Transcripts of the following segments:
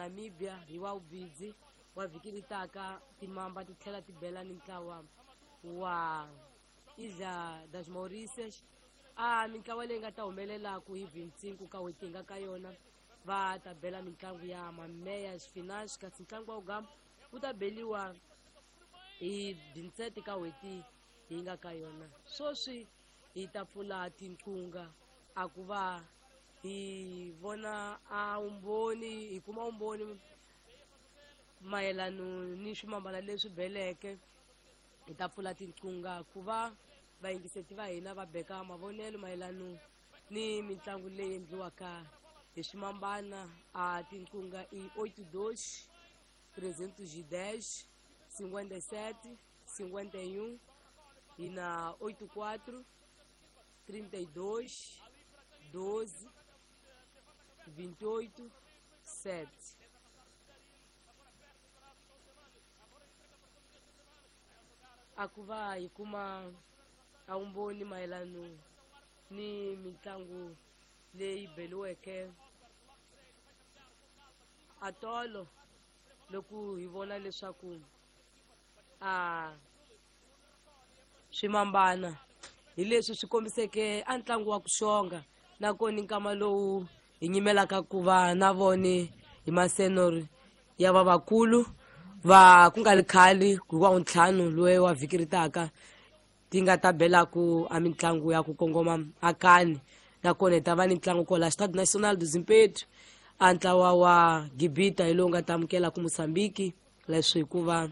Namibia hi wa vubidzi wa vhiki leri taka timamba ti tlhela ti bela ni ntlawa wa Ilha das Mauritius a mintlawa leyi nga ta humelelaku hi 25 ka n'hweti hi nga ka yona va ta bela mitlangu ya mameyas finance kasi ntlangu wa ugamba wu ta beliwa hi 27 ka n'hweti hi nga ka yona sweswi hi ta pfula tinqunga a ku va hi vona a vumbhoni hi kuma vumbhoni mayelano ni swimambana leswi beleke hi ta pfula tinqunga ku va vayingiseti va hina va beka mavonelo mayelano ni mitlangu leyi endliwaka hi swimambana a tinqunga i 82 310 57 51 hi na 84 32 12 28 7. A ku va hi kuma a vumbhoni mayelano ni mitlangu leyi beliweke a tolo loko hi vona leswaku a swimambana hi leswi swi kombiseke a ntlangu wa ku xonga nakona nkama lowu hi nyimelaka ku va na vone hi masenori ya vavakulu va ku nga ri khale hi wa ntlhanu loyi wa vhiki ri taka ti nga ta belaku a mitlangu ya ku kongoma akani nakona hi ta va ni ntlangu kwala Stade National do Zimpeto a ntlawa wa Gibita hi lowu nga ta amukela ku Mozambique leswi hikuva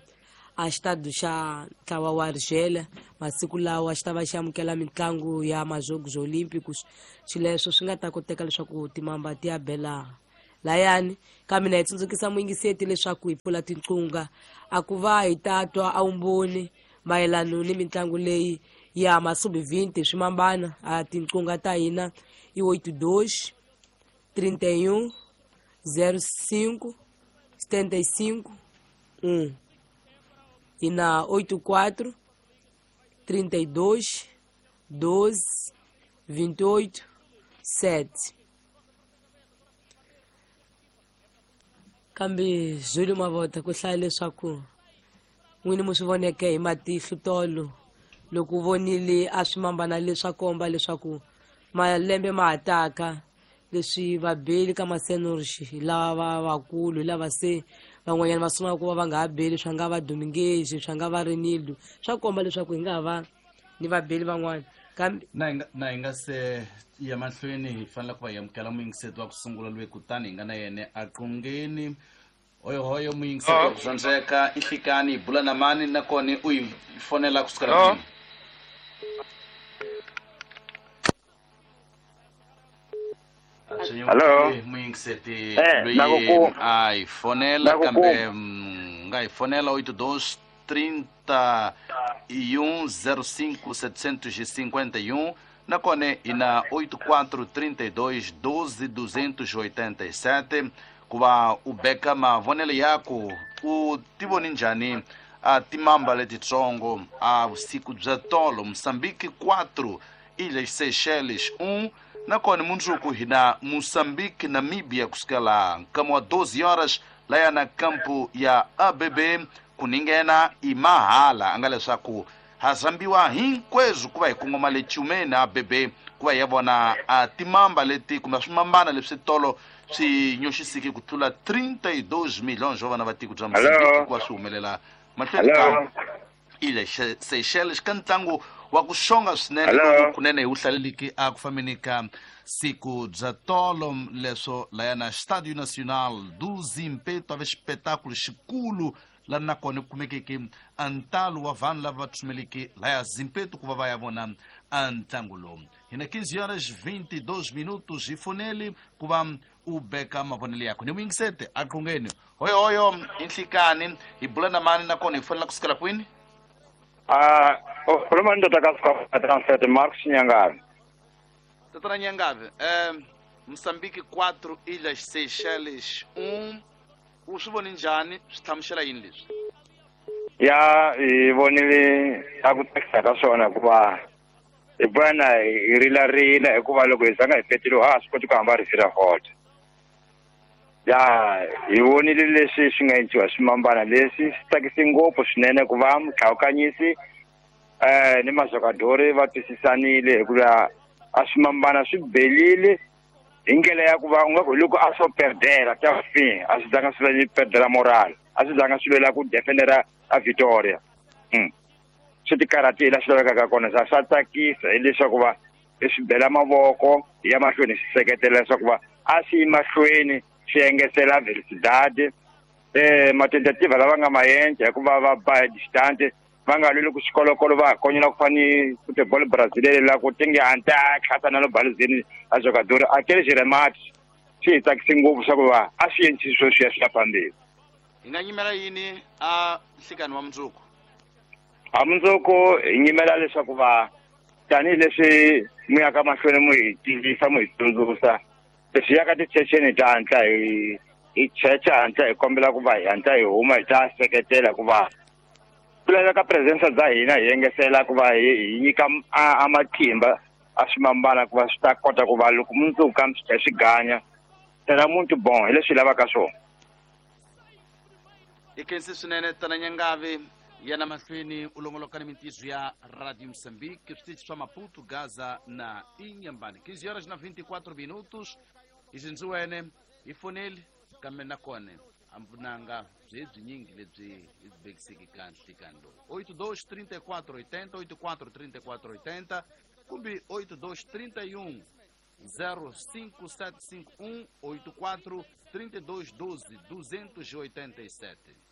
a xitado xa ntlawa wa Argelia masiku lawa xi ta va xi amukela mitlangu ya Majogos Olímpicos xileswo swi nga ta koteka leswaku timamba ti ya bela layani kambe na hi tsundzukisa muyingiseti leswaku hi pfula tinqunga a ku va hi ta twa a vumbhoni mayelano ni mitlangu leyi ya masubi 20 swimambana a tinqunga ta hina i 82 31 05 75 1 e na 84 32 12 28 7. Kambe Zulu Mavota ku hlaya leswaku n'wini mu swi voneke hi matihlo tolo loko u vonile a swimambana leswa komba leswaku malembe ma ha taka leswi vabeli ka masenorixi lava vakulu hi lava se van'wanyana va sungula ku va va nga ha beli swa nga va Dominguez swa nga va Renildo swa komba leswaku hi nga ha va ni vabeli van'wana kambe na hi nga se ya mahlweni hi fanele ku va hi amukela muyingiseti wa ku sungula loyi kutani hi nga na yena a qungeni hoyohoyo muyingiseti wa ku zwandzeka i hlikani hi bula na mani nakona u yi fonela kusukela kwini. Hello. Muyingiseti Eh, loyi nakuku- a hi fonela Nakuku- kambe nga hi fonela 82 31 05 751 nakona hi na 84 32 12 287 ku va u beka mavonelo yaku u ti voni njhani a timamba letitsongo a vusiku bya tolo Mozambique 4 Ilhas Seychelles 1 nakona mundzuku hi na Mozambique Namibia kusukela nkama wa 12 horas laya na kampu ya ABB ku ninghena i mahala a nga leswaku ha zambiwa hinkweswo ku va hi kongoma le Tshumeni ABB ku va hi ya vona a timamba leti kumbe swimambana leswi tolo swi nyoxisiki ku tlula 32 milhões wa vana va tiko bya Mozambique ku va swi humelela mahlweni ka Ilha Seychelles ka ntlangu wa ku xonga swinene Hello. kunene hi wu hlaleliki a ku fambeni ka siku bya tolo leswo laya na Estádio Nacional do Zimpeto a ve xipetakulu xikulu laha nakona ku kumekeke a ntalo wa vanhu lava va tsumeleke laya Zimpeto ku va va ya vona a ntlangu lowu. Hi na 15 horas 22 minutos hi foneli ku va u beka mavonelo yakho ni muyingisete a qungeni hoyohoyo i nhlikani hi bula na mani nakona hi fonela kusukela kwini. Ukhuluma indoda kaScott Mark Nyangabe. Tatana Nyangabe, Mozambique 4 Ilhas Seychelles 1 u swi voni njhani swi hlamusela yini leswi? Ya hi vonile a ku tsakisa ka swona hikuva hi bwana hi rilarila hikuva loko hi zanga hi petile ha swi koti ku hamba ri fira hot. Ya hi vonile leswi swi nga endliwa swimambana leswi swi tsakise ngopfu swinene ku va mutlhawukanyisi ni mazokadori va twisisanile hikuva a swimambana swi belile hi ndlela ya ku va u nga ku hi loko a swo perdela ta fin a swi zanga swi va perdela moral a swi zanga swi lwela ku defendera a Victoria. Swi tikarhatile la swi lavekaka kona swa tsakisa hileswaku va hi swi bela mavoko hi ya mahlweni swi seketela leswaku va a swi yi mahlweni swi engetela velocidade matentativa lava nga maendla hikuva va ba hi distance va nga lweli ku xikolokolo va konyela ku fani futebol brasileiro la ku tinge anta tlhasa na lo baluzeni a jogador aqueles remates swi hi tsakise ngopfu swa ku va a swi endlisi swo swi ya swi ya phambili. Hi nga nyimela yini a nhlikani wa mundzuku? A mundzuku hi nyimela leswaku va tanihileswi mu yaka mahlweni mu hi tivisa mu hi tsundzuxa leswi yaka tichecheni ta hatla hi checha hatla hi kombela ku va hi hatla hi huma hi ta seketela ku va ku laveka presence bya hina hi engetela ku va hi nyika a matimba a swimambana ku va swi ta kota ku va loko mundzuku ka swi tlhela swi ganya tela muntu bon hi leswi lavaka swona. I khensi swinene tana Nyangavi yana mahlweni u longoloka ni mintizo ya Radio Moçambique switichi swa Maputo, Gaza na Inhambane. 15 horas na 24 minutos izinziwene hi foneli kambe nakona a mpfunanga byi byinyingi lebyi hi byi vekisiki ka nhlikani lowu 82 34 80 84 34 80 kumbe 82 31 05751 84 32 12 287.